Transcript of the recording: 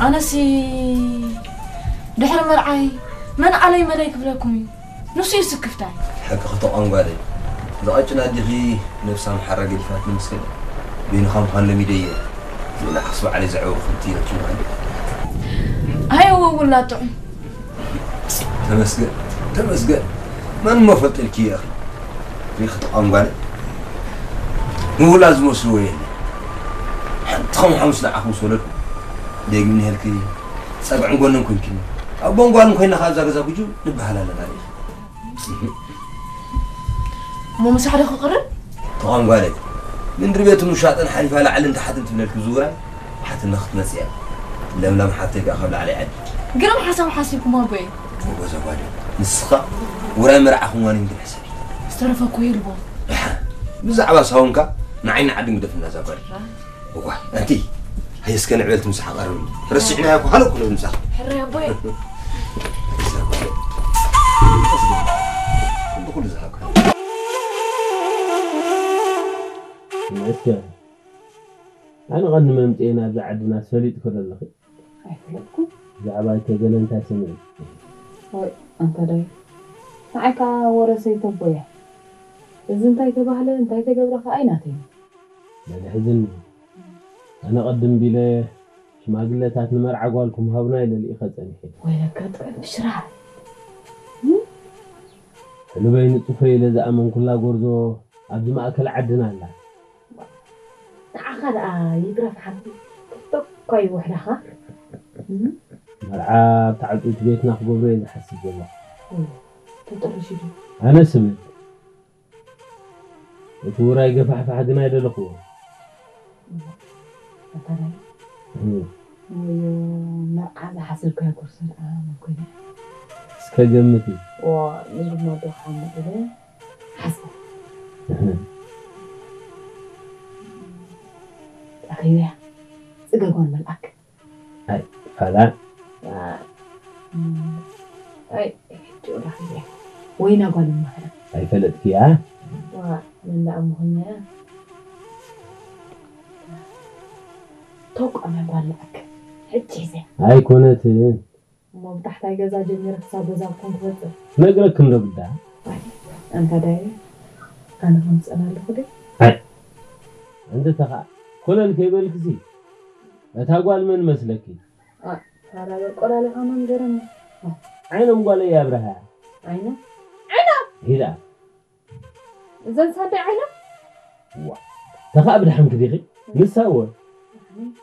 ኣነሲ ድሕሪ መርዓይ መን ዓለይ መለይ ክብለኩም እዩ? ንሱ እዩ ስክፍታይ። ሓቂ ክተቋም ጓለይ። ዝቐጭን ኣዲኺ ነብሳ ምሓራ ገዲፋት ንምስክል። በይንኻ ምዃን ለሚደ እየ። ንዓኽስ ባዕለይ ዘዕበኹ ክልቲ ኢለኪ ምዃን። ኣይ እወ ውላድ ጥዑም። ተመስገን፣ ተመስገን። መን እሞ ፈልጠልኪ እየ ኣኺ? ሪኺ ተቋም ጓለይ። ምውላድ ዝመስልዎ የለ። ሓንቲ ከም ሓሙስ ንዓኹም ዝወለድኩ። ደግም ንሄልኪ ጸግዕን ጎንን ኮንኪኒ። ኣቦን ጓልን ኮይና ከኣ ኣብዛ ገዛ ጉጁ ንበሃል ኣለና ሪኺ። እሞ ምሳሕ ዶ ክቕርብ? ተቋም ጓለይ። ምንድሪ ቤትን ውሻጠን ሓሊፋ ላዕልን ታሕትን ትብለልኪ ዝውራይ ሓትና ክትመጽእ እያ። ለምለም ሓብተይ ከኣ ካብ ላዕሊ ዓዲ። ግርም ሓሳብ ሓሲብኩም ኣቦይ። ጎበዝ ኣጓል። ንስኻ ውራይ መርዓኹም ዋኒን ግን ሕሰብ። ዝተረፈ እኮ ይርቦ። ደሓን። ብዛዕባ ሳውንካ ንዓይኒ ዓዲ ግደፍና እዛ ጓል። እዋ፣ ኣንቲ፣ ሃየ እስከ ንዕበል ትምሳሕ ቀርብ። ረሲዕናዮ እኮ፣ ሃለ እኮ ነው ምሳኻ። ሕራይ ኣቦይ። እዛ ጓል። እንዲ ኩሉ ዝሃብካ። መስገን። ኣነ ቐንዲ መምጽኤ ናብዛ ዓድና ፈሊጥኪ ዶ ኣለኺ? ኣይፈለጥኩን። ብዛዕባ ኣይተገለ እንታይ ሰሚዕኪ? ወይ፣ ኣንታ ዳይ። ንዓይ ከኣ ወረ ሰይተቦ እያ። እዚ እንታይ ተባህለ፣ እንታይ ተገብረ ከኣ ኣይናተይን። በል ሕዝኒ። ኣነ ቅድም ቢለ ሽማግለታት ንመርዓ ጓልኩም ሃቡና ኢለ ልኢኸ ጸኒሐ። ወይለካ ጥዑም ብሽራ። ሕሉበይ ንጹፈይ ኢለ ዝኣመንኩላ ጎርዞ ኣብዚ ማእከል ዓድና ኣላ። ንዓኻ ደኣ ይትረፍ ሓንቲ። ቶኳ ይውሕዳኻ። እም? መርዓ ኣብ ተዓጽውቲ ቤትና ክገብሮ እየ ዝሓስብ ዘለኹ። እም፣ ተጠርሹ ድዩ? ኣነ ስብል። እቲ ውራይ ገፋሕፋሕ ግን ኣይደለኹዎ። እም፣ ኣታ ናይ እም። ወዮ፣ መርዓ ዝሓሰብካዮ ጎርዞ ደኣ መን ኮይና? እስከ ገምቲ። ዋ፣ ንግድና ዶ ሓሙድ ኢለ ሓስብ። እህ። ኣኸይበያ፣ ጽገ ጓል መልኣክ። ኣይ፣ ፋላ። ዋ፣ እም፣ ኣይ፣ ሕጂ ረኺበያ። ወይና ጓል እማኸ? ኣይፈለጥክያ? ዋ፣ መን ደኣ ምኾንያ? ተቋም ጓል ለኣክ። ሕጂ ሒዘ። ኣይኮነትን። እሞ ብታሕታይ ገዛ ጀሚረ ክሳብ ገዛኩም ክበጽሕ። ነግረክን ዶ ግዳ? ኣይ፣ ኣንታ ዳየ፣ ኣነ ከምጽእና ኣለኹ ደ? ኣይ፣ እንተ ተኻ ኮለል ከይበልክሲ፣ እታ ጓል መን መስለኪ? ኣይ፣ ፋራ በል ቆላሊኻ መንገረኒ። ዓይኖም ጓለይ ኣብርሃ። ዓይኖም? ሂዳ። እዘን ሳደይ ዓይኖም? ዋ፣ ተኻ ብድሓን ክዲኺ? ንሳ እወ።